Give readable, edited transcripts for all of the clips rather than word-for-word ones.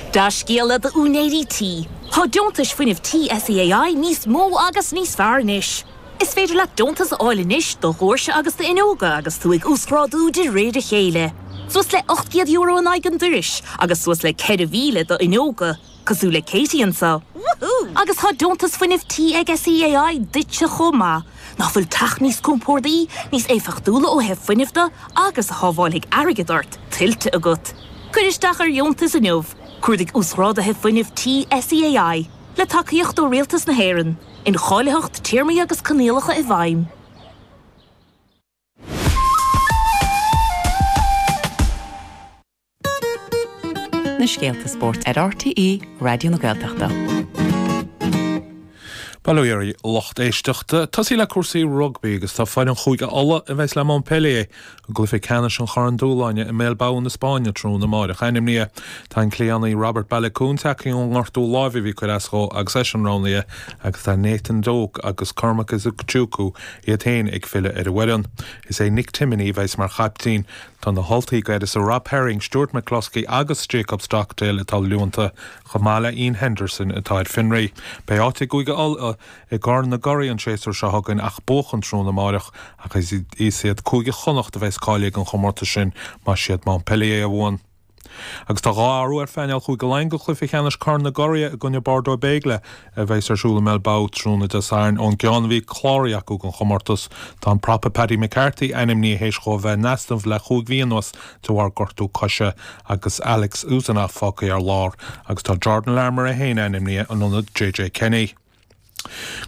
Dea-scéala d'úinéirí tí, tá deontais fuinnimh tí SEAI níos mó agus níos fearr anois. Is féidir leat deontas a fháil anois do dhoirse agus d'fhuinneoga agus tú ag uasghrádú de réir a chéile. Suas le €800 in aghaidh an dorais agus suas le 4,000 do fhuinneoga, cosúil le Katie anseo. Agus tá deontas fuinnimh tí ag SEAI duitse chomh maith. Nach bhfuil teach níos compordaí, níos éifeachtúla ó thaobh fuinnimh de agus a shábháilfidh airgead ort, tuillte agat? Cuir isteach ar dheontas inniu! Cuardaigh Uasghráduithe Fuinnimh Tí SEAI, le tacaíocht ó Rialtas na hÉireann. Incháilitheacht, téarmaí agus coinníollacha i bhfeidhm. Na scéalta spóirt ar RTÉ Raidió na Gaeltachta. Bail ó Dhia oraibh a lucht éisteachta. Tosaí le cúrsaí rugbaí agus tá foireann Chúige Uladh a bheas le Montpellier i gcluiche ceannais an Chorn Dúshláine i mBilbao na Spáinne tráthnóna amáireach ainmnithe. Tá an cliathánaí Robert Baloucoune tagtha ón ngortú láimhe a bhí ag cur as dhó agus eisean roghnaithe agus tá Nathan Doak agus Cormac Izuchukwu iad féin ag filleadh ar an bhfoireann. Is é Nick Timoney a bheas mar chaiptín. Tá na hUltaigh d'uireasa Rob Herring, Stuart McCloskey agus Jacob Stockdale atá leonta, chomh maith le Iain Henderson atá ar fionraí. Beidh áit ag Cúige Uladh i gCorn na gCuradh an séasúr seo chugainn ach buachan tráthnóna amáireach ach is iad Cúige Chonnacht a bheas cáilithe don chomórtas sin más iad Montpellier a bhuann. Agus tá 2 athrú ar phainéal Chúige Laighean do chluiche ceannais Corn na gCuradh i gcoinne Bordeaux Bègles a bheas ar siúl i mBilbao tráthnóna Dé Sathairn. Ón gceann a bhí cláraithe acu don chomórtas, tá an prapa Paddy McCarthy ainmnithe théis dhó a bheith in easnamh le chúig mhí anuas de bharr gortú coise agus Alex Usanov fágtha ar lár agus tá Jordan Larmour é féin ainmnithe in ionad JJ Kenny.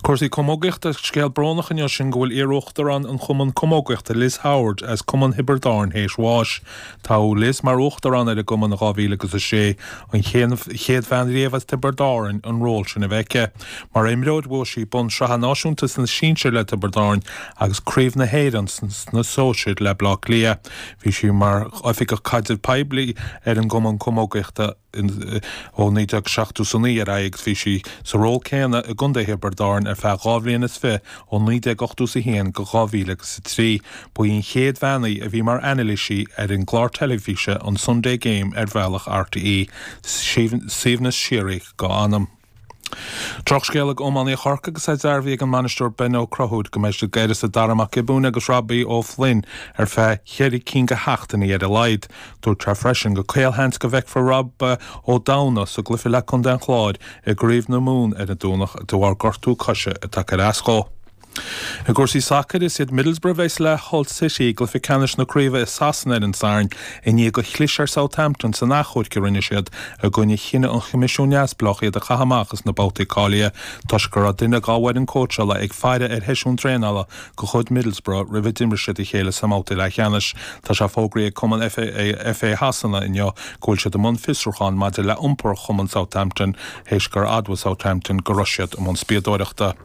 Cúrsaí Camógaíochta, Scéal brónach inniu sin go bhfuil iar-uachtarán an Chumann Camógaíochta Liz Howard as Cumann Thiobraid Árann théis bháis. Toghadh Liz mar uachtarán ar an gcumann i 2006, an chéad bhean riamh as Tiobraid Árann an ról sin a bheith aici. Mar imreoir bhuaigh sí bonn sraithe náisiúnta sna sinsir le Tiobraid Árann agus Craobh na hÉireann sna sóisir le Baile Átha Cliath. Bhí sí mar oifigeach caidrimh poiblí ar an gCumann Camógaíochta. ó 1979 ar aghaidh agus bhí sí sa ról céanna i gContae Thiobraid Árann ar feadh 2 bhliain is fi ó 1981 go 2003. Ba í an chéad bhean í a bhí mar anailísí ar an gclár teilifíse an Sunday Game ar bhealach RTÉ. Suaimhneas síoraí dá anam. Drochscéal ag iománaithe Chorcaí agus é dearbhaithe ag an mbainisteoir Ben Ó Conchúir go mbeidh siad d'uireasa Dara Mac Giobúin agus Robbie Ó Floinn ar feadh cheithre cinn de sheachtainí ar a laghad. Dúirt sé freisin gur caolsheans go bhfeicfear Rob Ó Domhnaill sa gcluiche le Contae an Chláir i gCraobh na Mumhan ar an Domhnach de bharr gortú coise atá ag cur as dhó. I gcúrsaí sacair, is iad Middlesbrough a bheas le Hull City i gcluiche ceannais na craoibhe i Sasana ar an Satharn i ndiaidh gur chlis ar Southampton san achomharc a rinne siad i gcoinne chinneadh an Choimisiúin Neamhspleách iad a chaitheamh amach as na babhtaí cáilithe toisc go raibh duine dá bhfoireann cóitseála ag faire ar sheisiún traenála de chuid Middlesbrough roimh a d'imir siad a chéile sa mbabhta leathcheannais. Tá sé fógraithe ag Cumann FA Shasana inniu go bhfuil siad i mbun fiosrúcháin maidir le iompar chumann Southampton théis gur admhaigh Southampton go raibh siad i mbun spiadóireachta.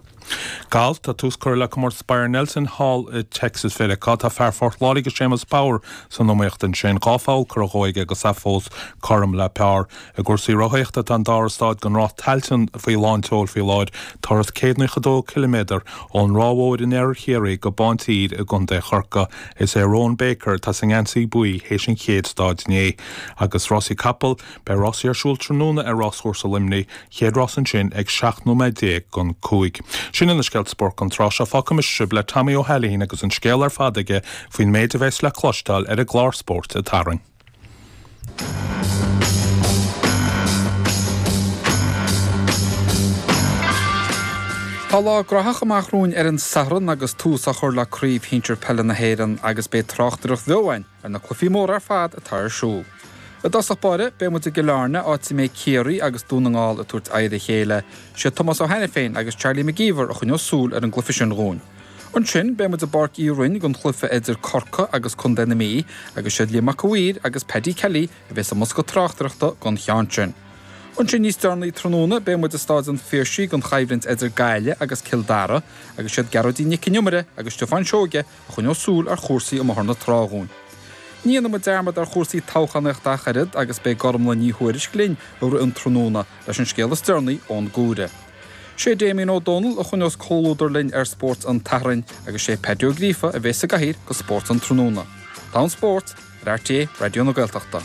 Galf, Tá tús curtha le comórtas Byron Nelson thall i Texas Mheiriceá. Tá fear Phort Láirge Séamus Power san iomaíocht ansin. 2 pholl curtha dhó aige agus é fós cothrom le par. I gcúrsaí rothaíochta tá an dara stáid den Rás Tailteann faoi lán tseoil faoi láthair. Turas 192 ciliméadar ón Ráth Mhóir in iarthar Chiarraí go Bántír i gContae Chorcaí. Is é Rowan Baker atá sa ngeansaí buí théis an chéad stáid inné. Agus rásaí capall, Beidh rásaí ar siúl tráthnóna ar Ráschúrsa Luimnigh, chéad rás ansin ag 17 nóiméad don 5. Sin iad na scéalta spóirt don tráth seo. Fágfaidh mise sibh le Tommy Ó hAilín agus an scéal ar fad aige faoin méid a bheas le cloisteáil ar an gclár Spóirt an tSathairn. Tá lá graitheach amach romhainn ar an Satharn agus tús á chur le Craobh Shinsir Peile na hÉireann agus beidh tráchtaireacht bheo againn ar na cluichí móra ar fad atá ar siúl. I dtosach báire, beidh muid i gCill Airne, áit a mbeidh Ciarraí agus Dún na nGall ag tabhairt aghaidh ar a chéile. Sé Tomás Ó hAiniféin agus Charlie McGeever a choinneos súil ar an gcluiche sin dhúinn. Ansin, beidh muid i bPáirc Uí Rinn don chluiche idir Corcaigh agus Contae na Mí, agus siad Liam Mac a' Mhaoir agus Paddy Kelly a bheas i mbosca tráchtaireachta don cheann sin. Ansin níos deireanaí tráthnóna, beidh muid i Stáid an Phiarsaigh don choimhlint idir Gaillimh agus Cill Dara, agus siad Gearóidín Nic an Iomaire agus Stiofán Seoige a choinneos súil ar chúrsaí i mBóthar na Trá dhúinn. Ní dhéanfaidh muid dearmad ar chúrsaí toghchánaíochta ach oiread agus beidh Gormlaith Ní Thuairisg linn i rith an tráthnóna leis an scéal is deireanaí ón gCuaire. Sé Damien Ó Dónaill a choinneos comhluadar linn ar Spórt an tSathairn agus sé Paddy Ó Gríofa a bheas sa gcathaoir do Spórt an Tráthnóna. Tá an spórt ar RTÉ Raidió na Gaeltachta.